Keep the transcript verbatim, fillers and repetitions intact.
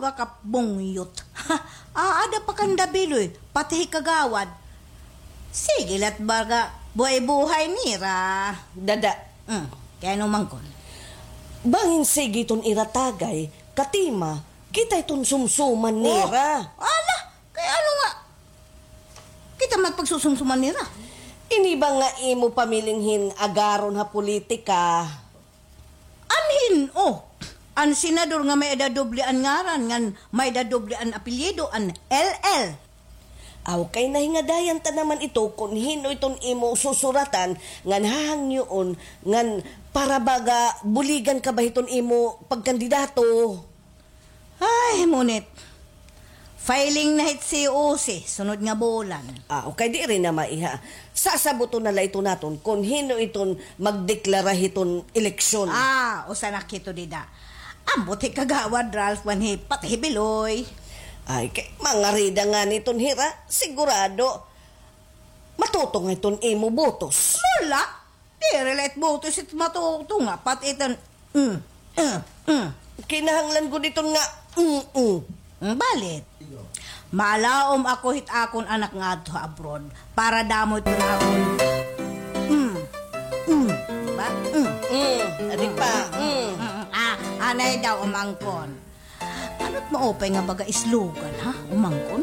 Pakapbungyot. Aada pa kanda Biloy, pati hi Kagawad. Sige la it baga buhay-buhay nira. Dada. Mm, kay ano man kon? Bangin sige iton ira tagay, katima, kita iton sumsuman nira. Ala, kay ano nga? Kita man pagsusumsuman nira. Ini ba nga imo pamiling hin-agaron ha politika? Anhin, oh, an senador nga may-ada doble an ngaran, ngan may-ada doble an apelyido, an L L. Aw, kay nahingadayan ta naman ito kon hin-o iton imo susuratan ngan hahangyoon ngan para baga buligan ka ba hiton imo pagkandidato. Ay, ngunit, filing na hit C O C, sunod nga bulan. Ah, okay, diri na maiha. Sasabuton na la ito naton kon hin-o iton magdeklara hiton eleksyon. Ah, usa na kito dida. Ambot hi Kagawad Ralph ngan hi pati hi Biloy. Ay, kay mangarida ngani iton hira, sigurado. Matutunga iton imo botos. Wala. Diri la it botos it matutunga, pati iton, mm, mm, mm. Kinahanglan gud iton nga, mm, mm. Mm, balit. Malaom ako hit akon anak nga adto ha abroad para damo iton akon, mm, mm, ba? Mm. Mm, adi pa, mm. Mm, ah, anay daw umangkon. Ano it maupay nga baga slogan, ha? Umangkon?